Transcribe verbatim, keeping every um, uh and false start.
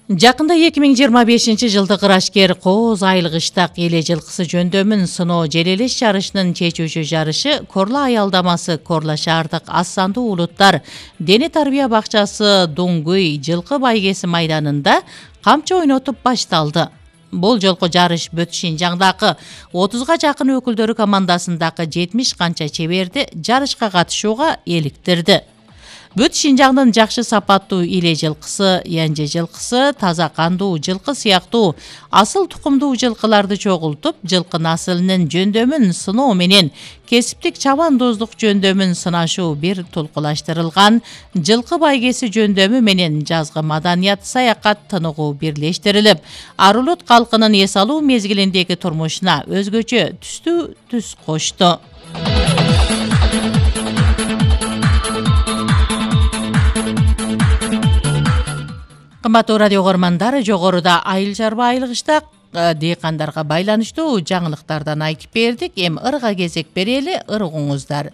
Жакында эки миң жыйырма бешинчи жылдык ырашкер Кооз айыл кыштак эле жылкысы жөндөмүн сыноо желелеш жарышынын чечүүчү жарышы Корла аялдамасы Корла шаардык аз сандуу улуттар дене тарбия бакчасы Дуңгүй жылкы байгеси майданында камчы ойнотуп башталды. Бул жолку жарыш Бүт Шинжаңдагы отузга жакын өкүлдөрү командасындагы жетимиш канча чеберди жарышка катышууга эликтирди. Бүт Шинжаңдын жакшы сапаттуу иле жылкысы, янже жылкысы, таза кандуу жылкы сыяктуу асыл тукумдуу жылкыларды чогултуп, жылкы насылынын жөндөмүн сыноо менен кесиптик чабандоздук жөндөмүн сынашуу бир толкулаштырылган жылкы байгеси жөндөмү менен жазгы маданият саякат тыныгуу бирлештирилип, Арулут калкынын эс алуу мезгилиндеги турмушуна өзгөчө түстүү түс кошту. Кымбаттуу радио көрөрмандар, жогоруда айыл чарба айыл кыштак дыйкандарга байланыштуу жаңылыктардан айтып бердик. Эми ырга кезек берели, ыргыңыздар.